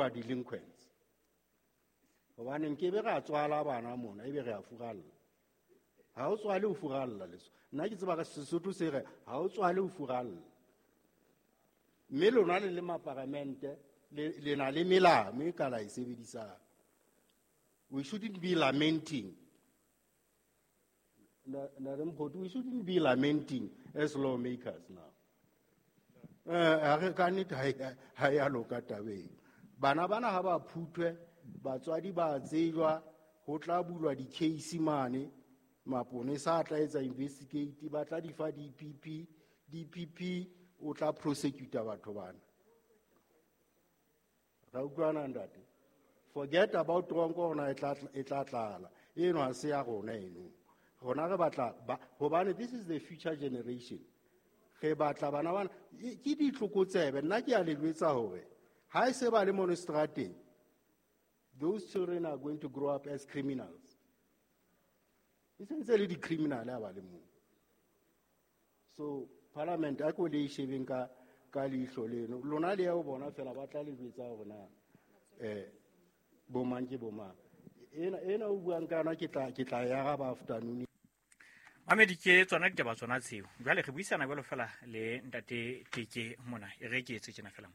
who are delinquents. Hobane nkebe ra tswala bana mona ebe re a furalla. Ha o tswale o furalla leso. Nna ke tseba ka Sesotho se re ha o tswale o furalla. Mme lona le le maparamente le na le melao e ka la e sebedisang. We shouldn't be lamenting. We shouldn't be lamenting as lawmakers now. Ha re ka nnete ha ya loka tabeng. Bana bana ha ba phuthwe, batswadi ba tsejwa, ho tla bulwa di-case mane, maponesa a tla etsa investigate, ba tla di fa DPP, DPP o tla prosecuta batho bana. Ra utlwana ntate? Forget about tronko rona e tla tlala. Eno ha se ya rona eno. Rona re batla ba, hobane this is the future generation. Re batla bana bana, ke ditlokotsebe. Nna ke a le jwetsa hore ha e se ba le mono strateng, those children are going to grow up as criminals. E sentse le di-criminal ha ba le moo. So parliament a ko le e shebeng ka leihlo leno. Lona le ya ho bona fela ba tla le jwetsa hore na, bomang ke bomang. Ena o buang ka yona ke tla e araba afternoon. Mamedi, ke tsona ditaba tsona tseo. Jwale re buisana jwalo fela le ntate Teke mona. E re ke etse tjena fela.